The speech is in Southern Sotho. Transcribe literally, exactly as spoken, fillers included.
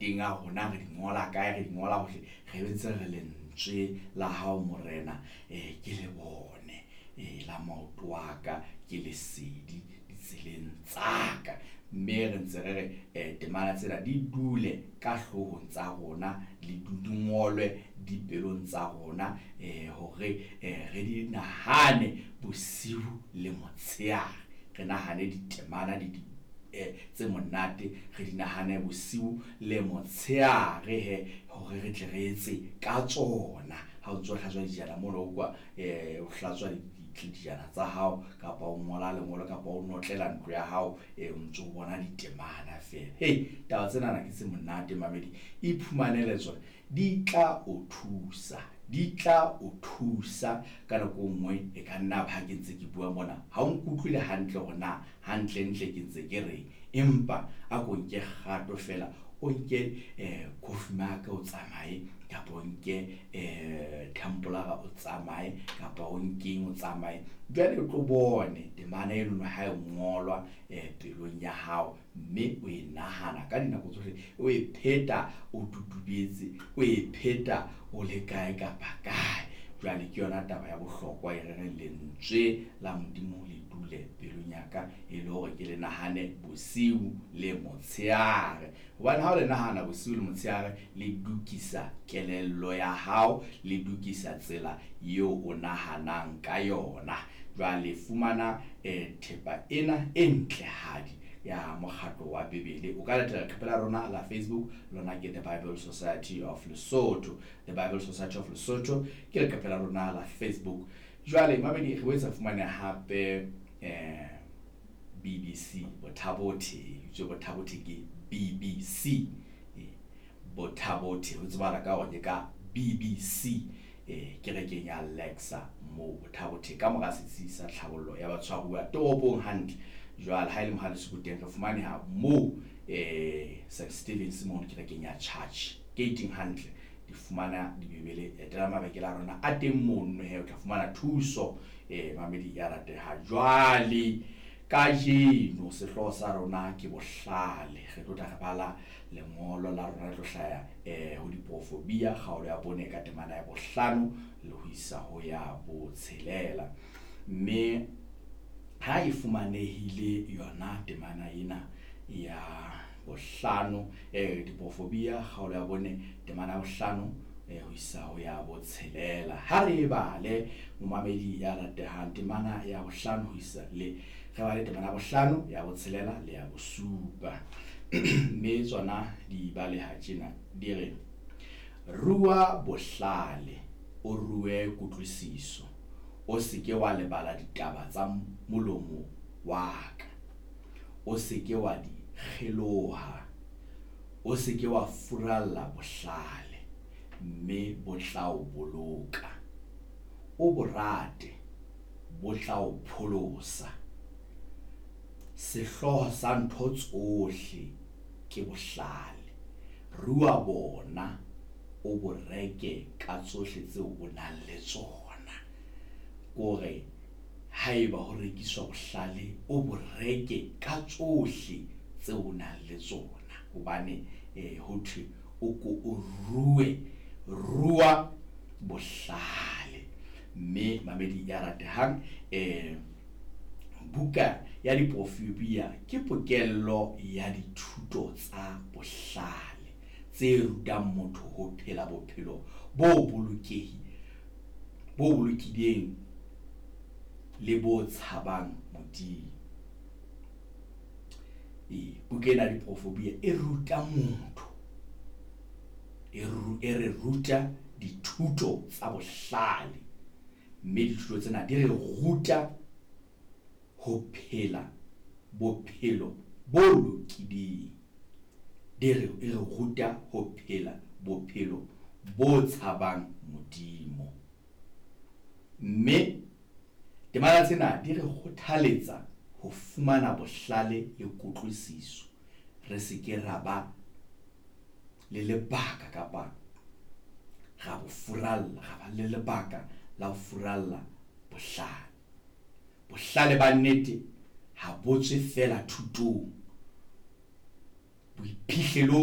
maboteng a rona, re di ngola kae, re di ngola hohle, re ntse re lentswe la hao Morena eh ke le bone, eh la maoto a ka ke lesedi ditseleng tsa ka. Mme re ntse re re eh temana tsena di dule ka hloohong tsa rona, le di ngolwe dipelong tsa rona, eh hore eh re di nahane bosiu le motshehare. Re nahane ditemana di tse monate, re di nahane bosiu le motshehare he, hore re tle re etse ka tsona. Ha o ntso hlatswa dijana mono o kwa eh o hlatswa dijana tsa hao, kapa o ngola lengolo, kapa o notlela ntlo ya hao, eh o ntso bona ditemana feela. Hey, taba tsena ke tse monate mamedi, iphumanele tsona, di tla o thusa, di tla o thusa ka nako e nngwe. E ka nna ba ha ke ntse ke bua mona ha o nkutlwile hantle hore na hantle ntle ke ntse ke reng, empa a ko nke kgato feela, o nke eh coffee mug o tsamaye, kapa o nke eh tumbler o tsamaye, kapa o nkeng o tsamaye. Jwale o tlo bone temana eno ha e ngolwa eh pelong ya hao, mme o e nahana ka dinako tsohle, o e pheta o tutubetse, o e pheta o le kae kapa kae. Jwale ke yona taba ya bohlokwa e re reng lentswe la Modimo le dule pelong ya ka, e le hore ke le nahane bosiu le motshehare. Hobane ha o le nahana bosiu le motshehare, le dukisa kelello ya hao, le dukisa tsela eo o nahanang ka yona. Jwale fumana eh thepa ena e ntlehadi ya mokgatlo wa Bibele. O ka latela leqephe la rona la Facebook, lona ke The Bible Society of Lesotho. The Bible Society of Lesotho ke leqephe la rona la Facebook. Jwale mamedi, re boetse fumane hape eh B B C Bothabothe, itswe Bothabothe ke B B C. Bothabothe ho tsebala ka hore ke ka B B C, eh kerekeng ya Lexa mo Bothabothe, ka mora setsi sa tlhabollo ya batshwaruwa toropong hantle. Jwale ha ile Mohale's teng re fumaneha mo eh Saint Stephen's mo kerekeng ya church gating hantle. Di fumana dibibele, etela mabekele a rona a teng mono he, o tla fumana thuso eh mamedi ya rateha. Jwale kajeno sehlooho sa rona ke bohlale. Re tlo tla re bala lengolo la rona le tlo hlaya eh ho diprofobia kgaolo ya bone ka temana ya bohlano le ho isa ho ya botshelela. Mme ha e fumanehile yona temana ena ya bohlano, eh diprofobia kgaolo ya bone temana ya bohlano eh ho isa ho ya botshelela. Ha re bale momamedi ya ratehang temana ya bohlano ho isa le re bale temana ya bohlano ya botshelela le ya bosupa. Mme tsona di baleha tjena, di re: rua bohlale, o rue kutlwisiso, o se ke wa lebala ditaba tsa molomo wa ka, o se ke wa di kgeloha, o se ke wa furalla bohlale, mme bo tla o boloka. O bo rate, bo tla o pholosa. Sehlooho sa ntho tsohle ke bohlale. Rua bona, o bo reke ka tsohle tseo o nang le tsona. Kore haeba ho rekiswa bohlale, o bo reke ka tsohle tseo o nang le tsona. Hobane eh ho thwe o ko o rue, rua bohlale. Mme mamedi ya ratehang, eh buka ya diprofobia ke pokello ya dithuto tsa bohlale tse rutang motho ho phela bophelo bo bolokehi, bo bolokileng le bo tshabang Modimo. E buka ena ya diprofobia e ruta motho, e re ruta dithuto tsa bohlale, mme dithuto tsena di re ruta ho phela bophelo bo lokileng. Di re, e re ruta ho phela bophelo bo tshabang Modimo. Mme temana tsena di re kgothaletsa ho fumana bohlale le kutlwisiso, re se ke ra ba le lebaka kapa ra bo furalla, ra ba le lebaka la ho furalla bohlale. Bohlale ba nnete ha bo tswe feela thutong, boiphihlelong